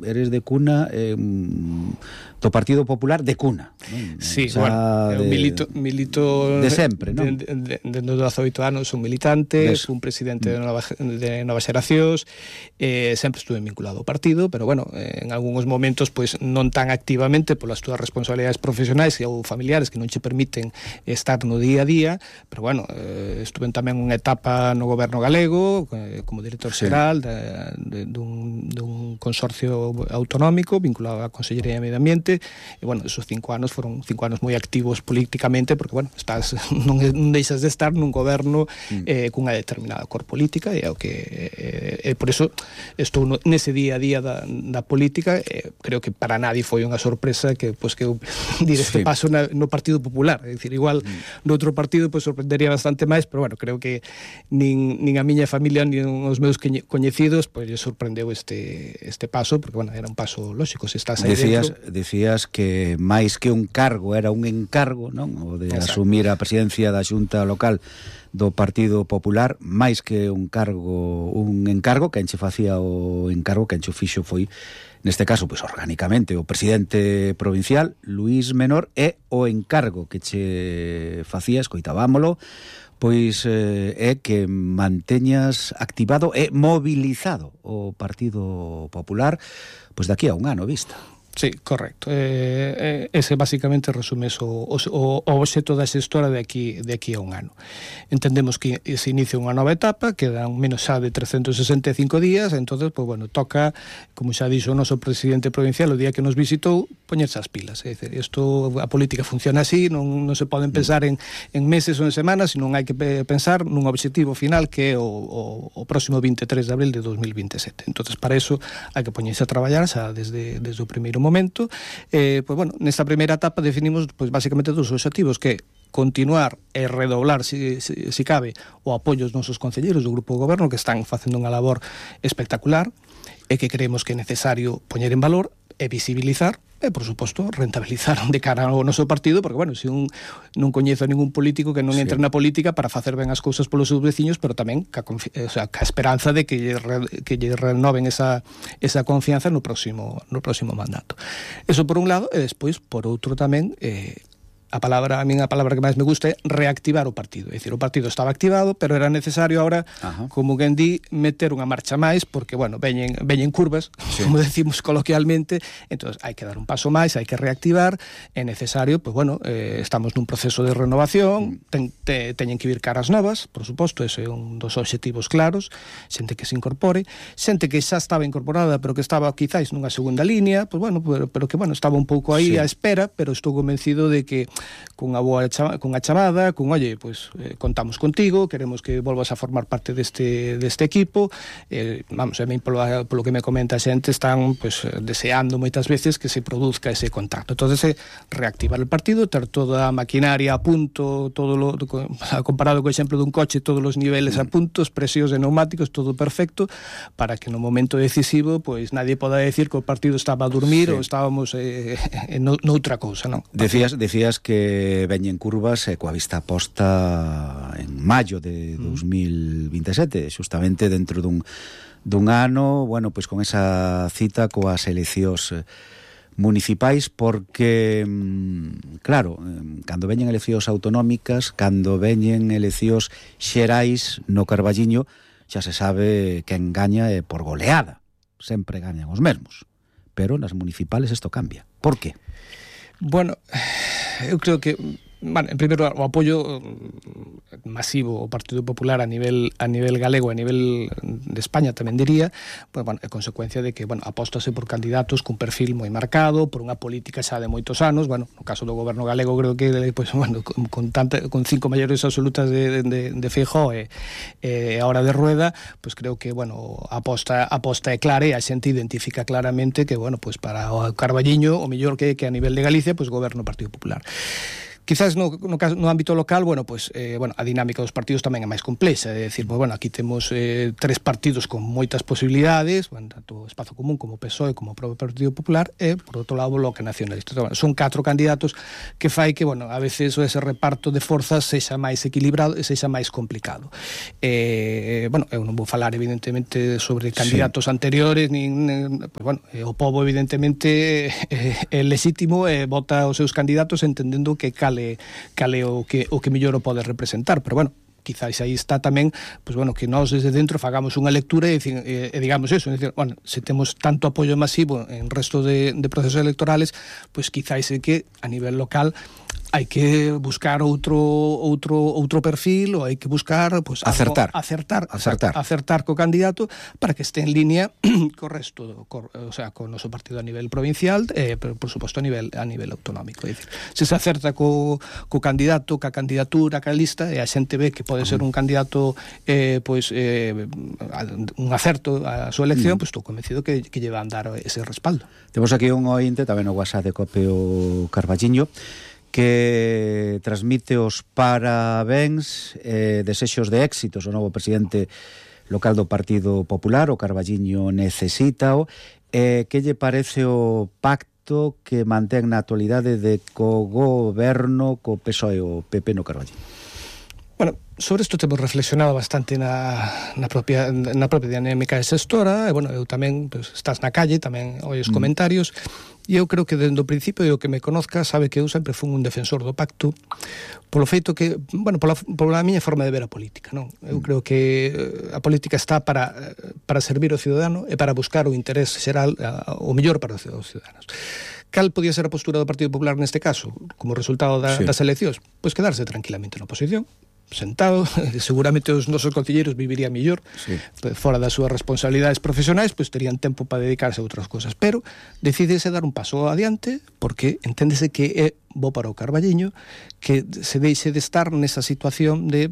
eres de cuna do Partido Popular de cuna, non? Sí, bueno, milito de sempre, non? Dende os 18 anos son militante, fui un presidente de Novas Xeracións, sempre estuve vinculado ao partido, pero bueno, en algúns momentos pois non tan activamente polas túas responsabilidades profesionais ou familiares que non che permiten estar no día a día, pero bueno, estuve tamén unha etapa no goberno galego como director xeral dun consorcio autonómico vinculado á Consellería de Medio Ambiente. E, bueno, esos 5 anos foron 5 anos moi activos políticamente porque, bueno, non deixas de estar nun goberno cunha determinada cor política e é o que por eso estou nese día a día da política. Creo que para nadie foi unha sorpresa que eu dir este paso no Partido Popular, é dicir, igual no outro partido sorprendería bastante máis, pero, bueno, creo que nin a miña familia nin os meus coñecidos lle sorprendeu este paso, porque, bueno, era un paso lógico, se estás aí dentro. Decías que máis que un cargo era un encargo, non? O de asumir a presidencia da Xunta Local do Partido Popular, máis que un encargo, que enche facía o encargo, que enche o fixo foi, neste caso, pois orgánicamente, o presidente provincial, Luís Menor, e o encargo que che facía, escoitábamolo, pois é que manteñas activado e mobilizado o Partido Popular pois daqui a un ano vista. Sí, correcto. Ese basicamente resume o obxecto da xestora de aquí a un ano. Entendemos que se inicia unha nova etapa, quedan menos xa de 365 días, entonces, pues, bueno, toca, como xa dixo o noso presidente provincial o día que nos visitou, poñerse as pilas. É dicir, a política funciona así, non se poden pensar en meses ou en semanas, sino hai que pensar nun obxectivo final que é o próximo 23 de abril de 2027. Entonces, para eso hai que poñerse a traballar xa desde o primeiro momento. Pues, bueno, nesta primeira etapa definimos, pues, basicamente dos obxectivos, que continuar e redoblar, si cabe, o apoio aos nosos concelleiros do grupo de goberno, que están facendo unha labor espectacular e que creemos que é necesario poñer en valor e visibilizar e, por suposto, rentabilizar de cara ao noso partido, porque, bueno, se non coñezo a ningún político que non entre na política para facer ben as cousas polos seus veciños, pero tamén ca esperanza de que lle renoven esa confianza no próximo mandato. Eso por un lado, e despois, por outro tamén, a min a palabra que máis me gusta é reactivar o partido. É dicir, o partido estaba activado, pero era necesario ahora, como quen di, meter unha marcha máis, porque, bueno, veñen curvas, como decimos coloquialmente, entón hai que dar un paso máis, hai que reactivar, é necesario, pues, bueno, estamos nun proceso de renovación, teñen que vir caras novas, por suposto, ese é un dos obxectivos claros, xente que se incorpore, xente que xa estaba incorporada, pero que estaba quizáis nunha segunda línea, pues, bueno, pero que, bueno, estaba un pouco aí á espera, pero estou convencido de que cunha chamada, oye, pues contamos contigo, queremos que volvas a formar parte deste equipo, vamos, a mí polo que me comenta a xente están, pues, deseando moitas veces que se produzca ese contacto. Entonces, reactivar o partido, ter toda a maquinaria a punto, comparado co exemplo dun coche, todos os niveles a punto, presións de neumáticos, todo perfecto, para que no momento decisivo, pues, nadie poda decir que o partido estaba a dormir ou estábamos noutra cousa, non? Decías que veñen curvas coa vista posta en maio de 2027, justamente dentro dun ano, bueno, pois con esa cita coas eleccións municipais, porque, claro, cando veñen eleccións autonómicas, cando veñen eleccións xerais no Carballiño, xa se sabe que engaña e por goleada, sempre gañan os mesmos, pero nas municipales isto cambia. Por qué? Bueno, eu creo que, bueno, en primeiro lugar, o apoio masivo ao Partido Popular a nivel galego, a nivel de España tamén diría, pues, bueno, é consecuencia de que, bueno, apóstase por candidatos cun perfil moi marcado, por unha política xa de moitos anos. Bueno, no caso do goberno galego creo que, pues, bueno, con 5 maiores absolutas de Feijóo e a hora de Rueda, pues creo que, bueno, a aposta é clara e a xente identifica claramente que, bueno, pues para o Carballiño o mellor que a nivel de Galicia, pues goberno o Partido Popular. Quizás no ámbito local, a dinámica dos partidos tamén é máis complexa, é dicir, aquí temos 3 partidos con moitas posibilidades, tanto Espazo Común como PSOE como o propio Partido Popular e, por outro lado, o Bloque Nacionalista. Son 4 candidatos que fai que, a veces ese reparto de forzas sexa máis equilibrado e sexa máis complicado. Eu non vou falar, evidentemente, sobre candidatos anteriores, o pobo, evidentemente, é legítimo e vota os seus candidatos entendendo que cale o que mellor o pode representar, pero quizás aí está tamén, que nós desde dentro fagamos unha lectura e digamos eso, se temos tanto apoio masivo en resto de procesos electorales, quizás é que a nivel local hai que buscar outro perfil, ou hai que buscar acertar co candidato para que este en línea co resto, co noso partido a nivel provincial e, por suposto, a nivel autonómico. É dicir, se acerta co candidato, ca candidatura, ca lista, e a xente ve que pode ser un candidato un acerto a súa elección, estou convencido que lle van dar ese respaldo. Temos aquí un ointe tamén no WhatsApp de Copeo Carballiño que transmite os parabéns desexos de éxitos ao novo presidente local do Partido Popular, o Carballiño necesítao. Que lle parece o pacto que mantén na actualidade de co-goberno co PSOE e o PP no Carballiño? Sobre isto temos reflexionado bastante na propia dinámica xestora, e, eu tamén, estás na calle, tamén olles comentarios, e eu creo que dende o principio e o que me conozca sabe que eu sempre fui un defensor do pacto polo feito que, pola miña forma de ver a política, non? Eu creo que a política está para servir ao ciudadano e para buscar o interés xeral, o mellor para os ciudadanos. Cal podía ser a postura do Partido Popular neste caso, como resultado das eleccións? Quedarse tranquilamente na oposición, sentado, seguramente os nosos concelleiros vivirían mellor, fora das súas responsabilidades profesionais, terían tempo para dedicarse a outras cosas, pero decídese dar un paso adiante, porque enténdese que é bo para o Carballiño que se deixe de estar nesa situación de,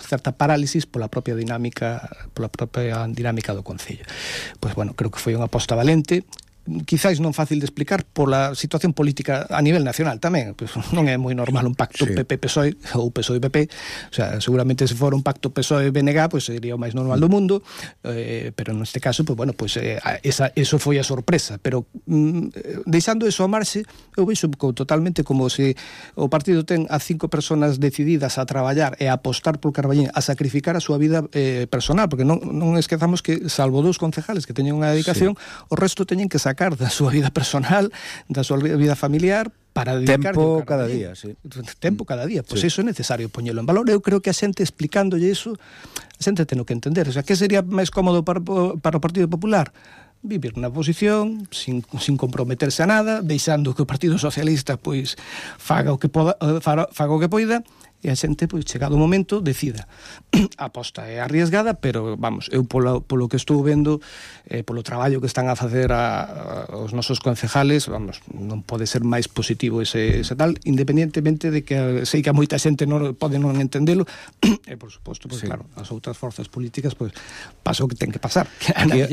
certa parálisis pola propia dinámica do concello. Creo que foi unha aposta valente, quizás non fácil de explicar pola situación política a nivel nacional tamén, non é moi normal un pacto PP-PSOE ou PSOE-PP, seguramente se fora un pacto PSOE-BNG sería o máis normal do mundo, pero neste caso eso foi a sorpresa, pero deixando eso a marxe, eu vexo totalmente como se o partido ten a 5 personas decididas a traballar e a apostar polo Carballiño, a sacrificar a súa vida personal, porque non esquezamos que salvo 2 concejales que teñen unha dedicación, o resto teñen que sacar da súa vida personal, da súa vida familiar para dedicar tempo cada día, tempo cada día, iso é necesario poñelo en valor. Eu creo que a xente explicándolle iso, a xente ten que entender, que sería máis cómodo para o Partido Popular? Vivir na oposición sin comprometerse a nada, deixando que o Partido Socialista faga o que poida, e a xente, chegado o momento, decida. A aposta é arriesgada, pero, eu polo que estou vendo, polo traballo que están a facer os nosos concejales, non pode ser máis positivo ese tal, independentemente de que sei que a moita xente pode non entendelo, e, por suposto, claro, as outras forzas políticas, pasa o que ten que pasar.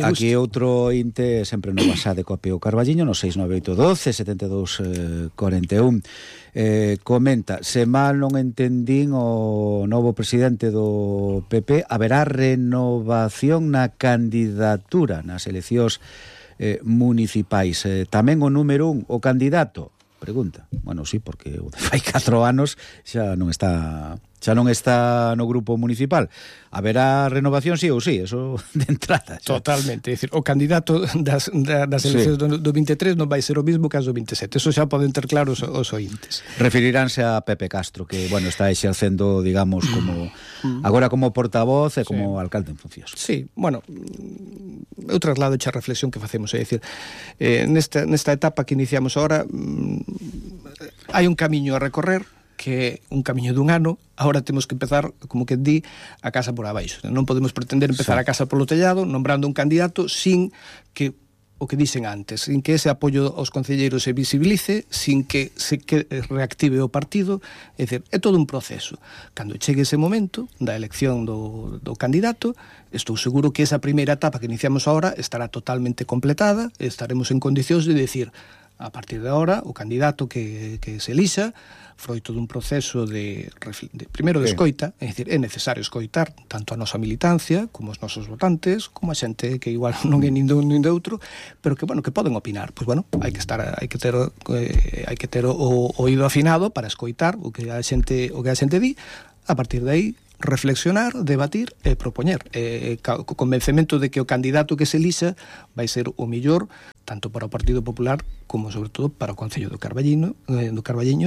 Aquí outro inte, sempre no WhatsApp de Copeo Carballiño, no 69812 7241, comenta: se mal non entendín o novo presidente do PP, haberá renovación na candidatura nas eleccións municipais. Tamén o número 1, o candidato, pregunta. Sí, porque o de fai 4 anos xa non está no grupo municipal. Haberá renovación sí ou sí, eso de entrada. Totalmente, é dicir, o candidato das eleccións do 23 non vai ser o mismo que as do 27, eso xa poden ter claros os ointes. Referiránse a Pepe Castro, que, está exercendo, digamos, como agora como portavoz e como alcalde en funcións. Sí, eu traslado a reflexión que facemos, é dicir, nesta etapa que iniciamos agora, hai un camiño a recorrer, que un camiño dun ano, agora temos que empezar, como que di, a casa por abaixo. Non podemos pretender empezar a casa polo tellado, nombrando un candidato sin que, o que dixen antes, sin que ese apoio aos concelleiros se visibilice, sin que se reactive o partido, é dicir, é todo un proceso. Cando chegue ese momento da elección do candidato, estou seguro que esa primeira etapa que iniciamos agora estará totalmente completada, estaremos en condicións de decir: a partir de ahora, o candidato que se elixa, froito dun proceso primeiro de escoita, é dicir, é necesario escoitar tanto a nosa militancia como os nosos votantes, como a xente que igual non é nin de outro, pero que, bueno, que poden opinar. Pois, bueno, hai que ter o oído afinado para escoitar o que a xente di, a partir de aí reflexionar, debatir e propoñer, co convencemento de que o candidato que se elixa vai ser o mellor tanto para o Partido Popular como sobre todo para o Concello do Carballiño,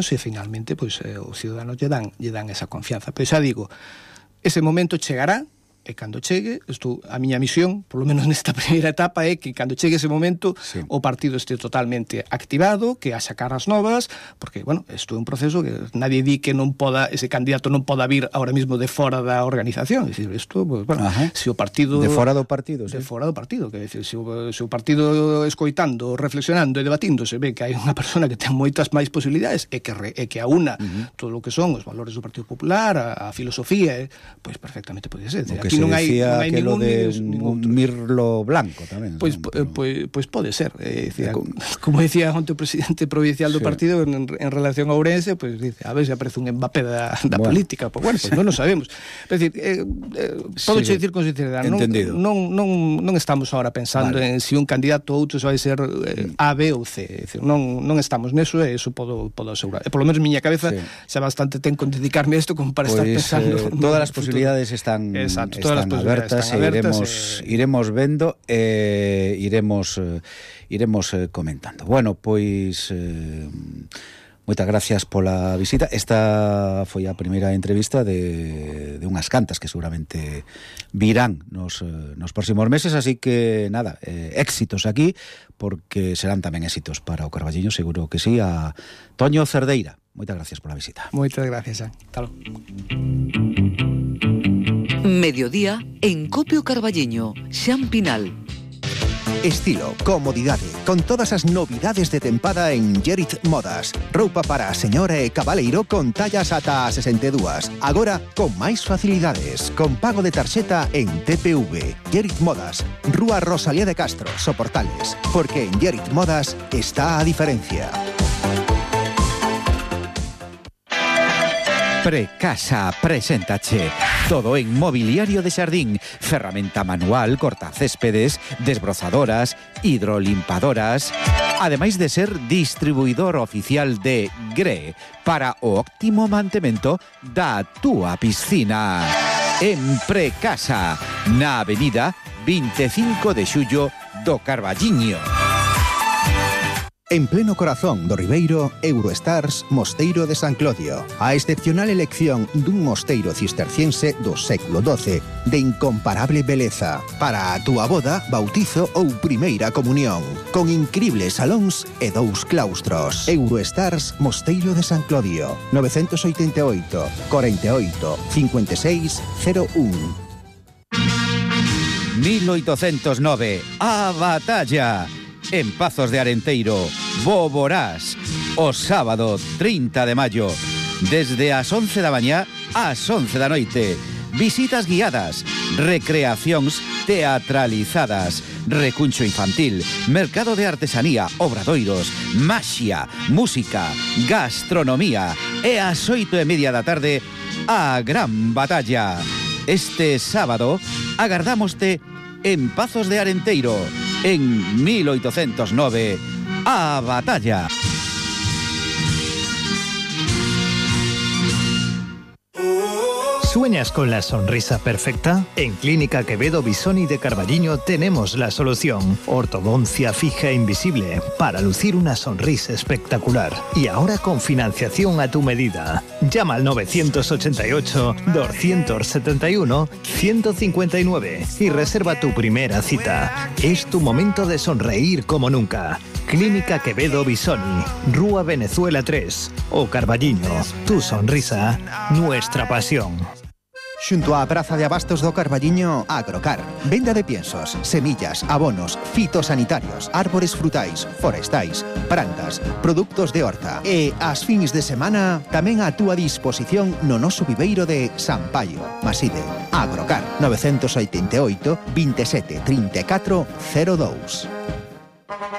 se finalmente pois os ciudadanos lle dan esa confianza. Pero xa digo, ese momento chegará, e cando chegue, a miña misión, por lo menos nesta primeira etapa, é que cando chegue ese momento o partido este totalmente activado, que haxa caras novas, porque, bueno, isto é un proceso que nadie di que ese candidato non poda vir ahora mismo de fora da organización. É dicir, isto, pues, bueno, se o partido... De fora do partido, sí. De fora do partido, que decir, se o partido escoitando, reflexionando e debatíndose ve que hai unha persona que ten moitas máis posibilidades e que aúna todo o que son os valores do Partido Popular, a filosofía, pois perfectamente pode ser. Aquí non hai aquilo de un mirlo blanco tamén. Pois pode ser. Como decía onte o presidente provincial do partido en relación a Ourense, pois dice, a ver se aparece un Mbappé da política. Pois bueno, non o sabemos. É dicir, podo dicir con sinceridade, non estamos ahora pensando en se un candidato ou outro vai ser A, B ou C. Non estamos neso e iso podo asegurar. E polo menos miña cabeza xa bastante ten con dedicarme a isto como para estar pensando. Todas as posibilidades están abertas, iremos vendo e iremos comentando. Bueno, pois moitas gracias pola visita. Esta foi a primeira entrevista de unhas cantas que seguramente virán nos próximos meses, así que nada, éxitos aquí, porque serán tamén éxitos para o Carballiño, seguro que sí. A Toño Cerdeira, moitas gracias pola visita. Moitas gracias, Hasta logo. Mediodía en Copio Carballiño, Xan Pinal. Estilo, comodidade, con todas as novidades de tempada en Gerit Modas. Roupa para a señora e cabaleiro con tallas ata a 62. Agora con máis facilidades, con pago de tarxeta en TPV. Gerit Modas, Rúa Rosalía de Castro, Soportales. Porque en Gerit Modas está a diferencia. Precasa preséntache todo en mobiliario de xardín, ferramenta manual, cortacéspedes, desbrozadoras, hidrolimpadoras, ademais de ser distribuidor oficial de GRE para o óptimo mantemento da túa piscina. En Precasa, na avenida 25 de xullo do Carballiño. En pleno corazón do Ribeiro, Eurostars Mosteiro de San Clodio. A excepcional elección dun mosteiro cisterciense do século XII de incomparable beleza para a túa boda, bautizo ou primeira comunión, con incribles salóns e 2 claustros. Eurostars Mosteiro de San Clodio, 988 48 56 01. 1809, a batalla. En Pazos de Arenteiro, Boborás, o sábado 30 de maio, desde as 11 da mañá ás 11 da noite. Visitas guiadas, recreacións teatralizadas, recuncho infantil, mercado de artesanía, obradoiros, maxia, música, gastronomía e ás 8:30 da tarde a gran batalla. Este sábado agardámoste en Pazos de Arenteiro, en 1809, a batalla. ¿Sueñas con la sonrisa perfecta? En Clínica Quevedo Bisoni de Carballiño tenemos la solución. Ortodoncia fija e invisible para lucir una sonrisa espectacular. Y ahora con financiación a tu medida. Llama al 981-271-159 y reserva tu primera cita. Es tu momento de sonreír como nunca. Clínica Quevedo Bisoni, Rúa Venezuela 3, o Carballiño. Tu sonrisa, nuestra pasión. Xunto á Praza de Abastos do Carballiño, Agrocar. Venda de piensos, semillas, abonos, fitosanitarios, árbores frutais, forestais, plantas, produtos de horta. E as fins de semana tamén a túa disposición no noso viveiro de San Paio, Maside. Agrocar, 988 27 34 02.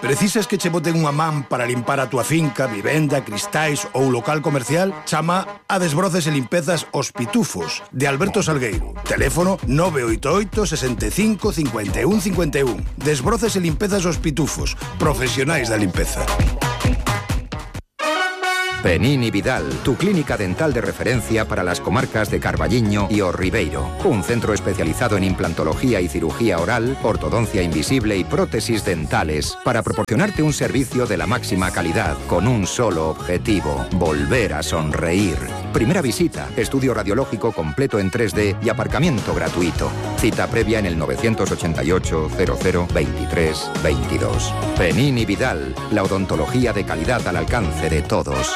Precisas que che boten unha man para limpar a túa finca, vivenda, cristais ou local comercial? Chama a Desbroces e Limpezas Os Pitufos, de Alberto Salgueiro. Teléfono 988 65 51 51. Desbroces e Limpezas Os Pitufos, profesionais da limpeza. Penini Vidal, tu clínica dental de referencia para las comarcas de Carballiño y O Ribeiro. Un centro especializado en implantología y cirugía oral, ortodoncia invisible y prótesis dentales para proporcionarte un servicio de la máxima calidad con un solo objetivo: volver a sonreír. Primera visita, estudio radiológico completo en 3D y aparcamiento gratuito. Cita previa en el 988 00 23 22. Penini Vidal, la odontología de calidad al alcance de todos.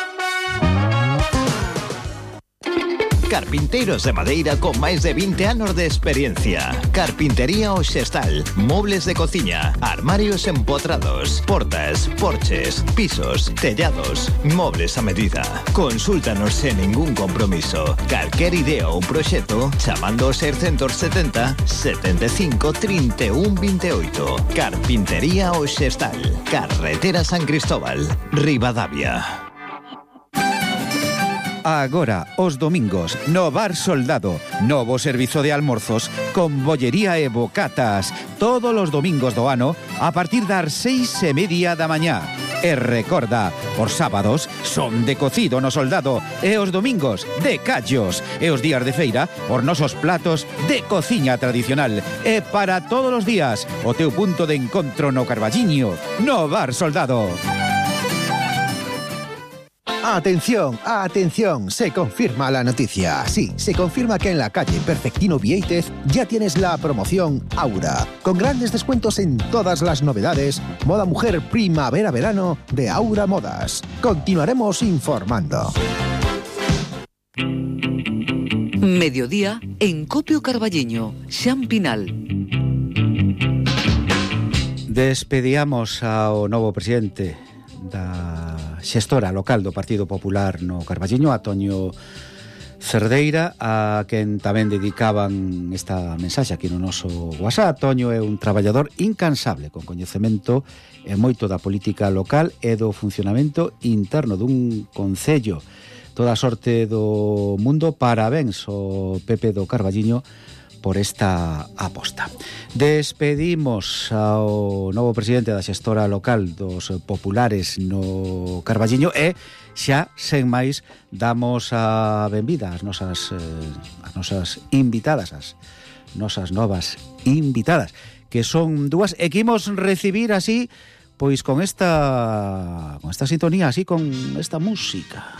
Carpinteiros de madeira con máis de 20 anos de experiencia. Carpintería Oxestal, mobles de cociña, armarios empotrados, portas, porches, pisos, tellados, mobles a medida. Consúltanos sen ningún compromiso. Calquer idea ou proxecto chamando ao 670 75 31 28. Carpintería Oxestal, Carretera San Cristóbal, Ribadavia. Agora, os domingos, no Bar Soldado, novo servizo de almorzos con bollería e bocatas, todos os domingos do ano a partir das 6:30 da mañá. E recorda, os sábados son de cocido no Soldado e os domingos de callos e os días de feira os nosos platos de cociña tradicional. E para todos os días, o teu punto de encontro no Carballiño, no Bar Soldado. Atención, atención, se confirma la noticia. Sí, se confirma que en la calle Perfectino Viéitez ya tienes la promoción Aura, con grandes descuentos en todas las novedades, moda mujer primavera-verano de Aura Modas. Continuaremos informando. Mediodía en Copio Carballiño, Xan Pinal. Despedíamos ao novo presidente da xestora local do Partido Popular no Carballiño, a Toño Cerdeira, a quen tamén dedicaban esta mensaxe aquí no noso WhatsApp. Toño é un traballador incansable, con coñecemento e moito da política local e do funcionamento interno dun concello. Toda a sorte do mundo, parabéns ao PP do Carballiño por esta aposta. Despedimos ao novo presidente da xestora local dos populares no Carballiño e xa, sen máis, damos a benvida ás nosas invitadas, as nosas novas invitadas, que son dúas e que imos recibir así, pois con esta sintonía, así con esta música.